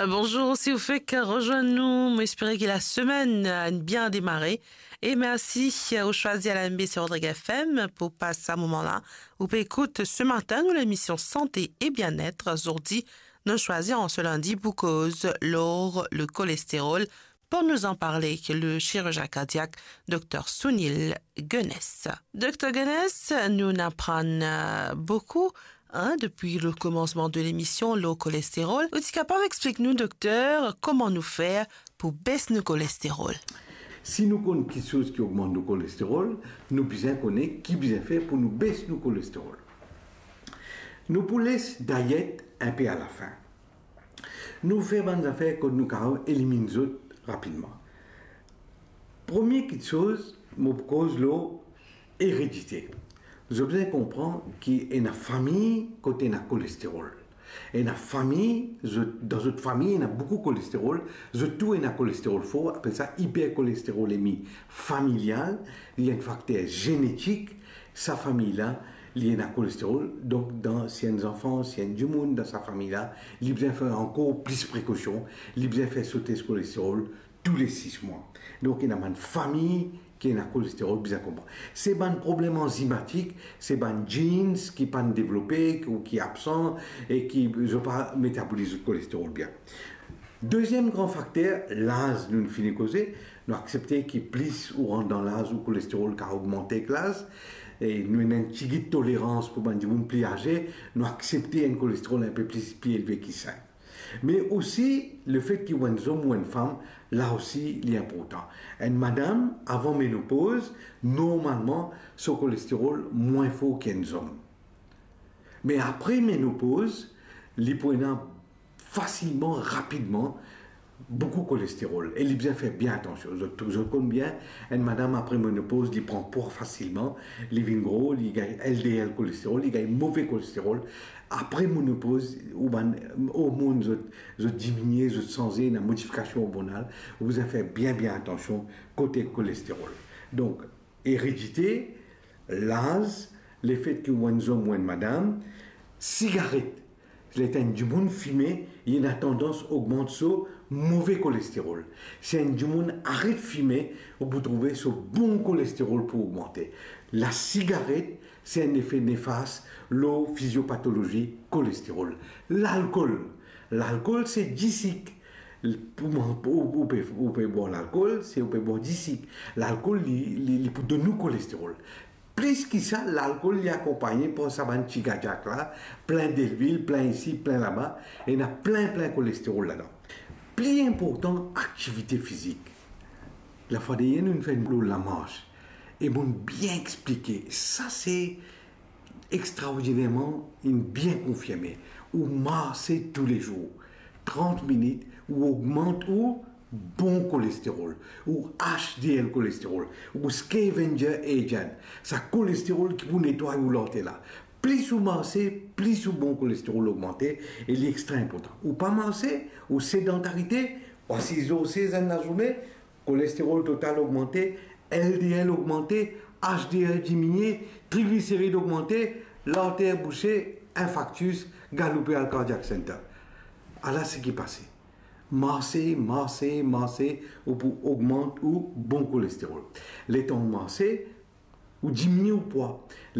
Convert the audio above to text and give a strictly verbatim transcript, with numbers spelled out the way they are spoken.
Bonzour, si ou fek rezwenn nou, mo espere ki lasemenn, eh, bien demare. E mersi, eh, ou swazir L M B C Rodrigues F M pou pas sa moman la. Ou pe ekout se matin nou lemision Santé e Bienet. Zordi, nou swazir an se lindi pou koz lor le kolesterol. Pour nous en parler, le chirurgien cardiaque, Dr Sunil Gunness. Dr Gunness, nou aprann, eh, boukou, hein, depi le komansman de lemision, lor kolesterol. Ou ti kapav explik nou, dokter, kouma nou fer pou bes nou kolesterol? Si nou konn kiksoz ki ogmant nou kolesterol, nou bizin kone ki bizin fer pou nou bes nou kolesterol. Nou pou les dayet inpe alafin. Nou fer bann zafer kot nou kapav eliminn zot rapidman. Premie kiksoz, mo pou koz lor eredite. Zot bizin konpran ki ena fami kot ena kolesterol. Ena fami, zot, dan zot fami, ena boukou kolesterol, zot tou ena kolesterol for, apel sa iperkolesterolemi familial, li enn fakter zenetik, sa fami la, li ena kolesterol, donk dan, si enn zanfan, si enn dimoun dan sa fami la, li bizin fer ankor plis prekosion, li bizin fer so tes kolesterol tou le sis mwa. Donk, ena bann fami ki ena kolesterol bizin konpran. Se bann problem anzimatik, se bann genes ki pa'nn devlope, ki, ou ki absan, e ki zot pa metaboliz zot kolesterol bien. Deziem gran fakter, laz, nou fini koze, nou aksepte ki plis ou rant dan laz, ou kolesterol kapav ogmante ek laz, e nou ena enn tigit tolerans pou bann dimoun pli aze, nou aksepte enn kolesterol inpe plis, pli elve ki sink. Me osi, lefet ki ou enn zom ou enn fam, la osi, li inportan. Enn madam, avan menopoz, normalman, so kolesterol mwin for ki enn zom. Me apre menopoz, li pou ena fasilman, rapidman, boukou kolesterol. E li bizin fer bien atansion. Zot, zot konn bien, enn madam apre menopoz, li pran pwa fasilman, li vinn gro, li gagn L D L kolesterol, li gagn move kolesterol. Apre menopoz, ou bann ormonn zot, zot diminie, zot sanze, ena modifikasion ormonal, ou bizin fer bien, bien atansion kote kolesterol. Donk, eredite, laz, lefet ki ou enn zom ou enn madam, sigaret. Ler enn dimoun fime, li ena tandans ogmant so move kolesterol. Si enn dimoun aret fime, ou pou trouve so bon kolesterol pou ogmante. Lasigaret, se enn lefe nefas lor fiziopatolozi kolesterol. Lalkol. Lalkol, se disik. Pou mwa, ou, ou pe, ou pe bwar lalkol, se ou pe bwar disik. Lalkol, li, li, li pou donn nou kolesterol. Plis ki sa, lalkol, li akonpagne par sa bann ti gadiak la, plin delwil, plin isi, plin laba, ena plin, plin kolesterol ladan. Pli inportan, aktivite fizik. Lafwa dernie, nou fer enn lor lamars. E mo'nn bien explike. Sa, se extraordinerman, inn bien konfirme. Ou marse toulezour, trant minit, ou ogmant ou bon kolesterol, ou H D L kolesterol, ou scavenger agent, sa kolesterol ki pou netway ou larter la. Plis ou marse, plis ou bon kolesterol ogmante, e li extra inportan. Ou pa marse, ou sedantarite, ou asize, ou asize enn lazourne, kolesterol total ogmante, L D L ogmante, H D L diminie, trigliserid ogmante, larter bouse, infaktis, galoupe al cardiac center. Ala seki pase. Marse, marse, marse, ou pou ogmant ou bon kolesterol. Letan ou marse, ou diminie ou pwa.